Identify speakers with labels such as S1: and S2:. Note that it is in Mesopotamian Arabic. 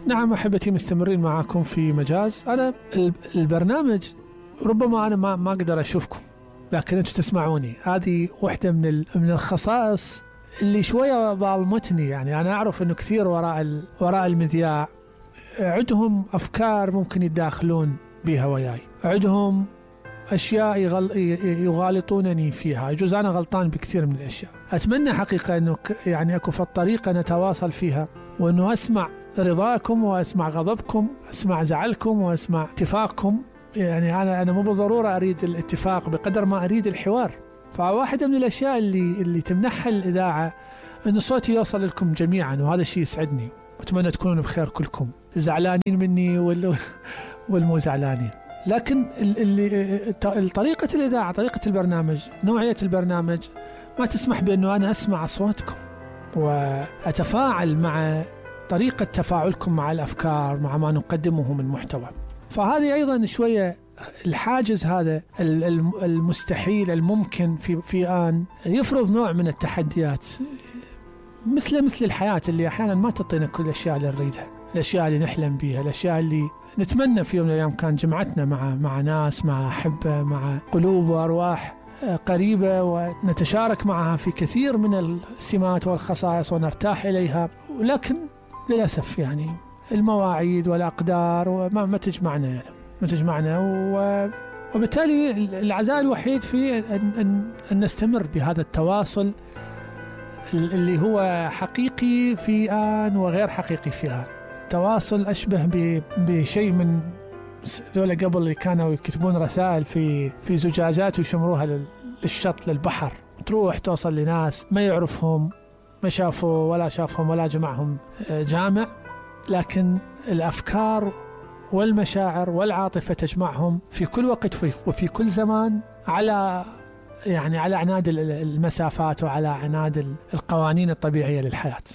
S1: نعم أحبتي، مستمرين معاكم في مجاز. أنا البرنامج ربما أنا ما أقدر أشوفكم، لكن أنتم تسمعوني. هذه واحدة من الخصائص اللي شوية ظالمتني. يعني أنا أعرف أنه كثير وراء المذياع عندهم أفكار ممكن يتداخلون بها وياي، عندهم أشياء يغالطونني فيها. يجوز أنا غلطان بكثير من الأشياء. أتمنى حقيقة أنه يعني أكو في الطريقة نتواصل فيها، وأنه أسمع رضاكم وأسمع غضبكم، أسمع زعلكم وأسمع اتفاقكم. يعني أنا مو بالضرورة أريد الاتفاق بقدر ما أريد الحوار. فواحدة من الأشياء اللي تمنحها الإذاعة أن صوتي يوصل لكم جميعا، وهذا الشيء يسعدني. أتمنى تكونون بخير كلكم، زعلانين مني والمو زعلانين. لكن طريقة الإذاعة، طريقة البرنامج، نوعية البرنامج ما تسمح بأنه أنا أسمع أصواتكم وأتفاعل مع طريقة تفاعلكم مع الأفكار، مع ما نقدمه من محتوى. فهذه أيضا شوية الحاجز هذا المستحيل الممكن في آن يفرض نوع من التحديات، مثل الحياة اللي أحيانا ما تعطينا كل الأشياء اللي نريدها، الأشياء اللي نحلم بها، الأشياء اللي نتمنى في يوم من الأيام كان جمعتنا مع ناس، مع أحبة، مع قلوب وأرواح قريبة، ونتشارك معها في كثير من السمات والخصائص ونرتاح إليها. ولكن للأسف يعني المواعيد والأقدار ما تجمعنا، يعني ما تجمعنا. وبالتالي العزاء الوحيد في أن نستمر بهذا التواصل اللي هو حقيقي في آن وغير حقيقي في آن. تواصل أشبه بشيء من ذولا قبل اللي كانوا يكتبون رسائل في زجاجات ويشمروها للشط للبحر، تروح توصل لناس ما يعرفهم، ما شافوا ولا شافهم ولا جمعهم جامع، لكن الأفكار والمشاعر والعاطفة تجمعهم في كل وقت وفي كل زمان، على عناد المسافات وعلى عناد القوانين الطبيعية للحياة.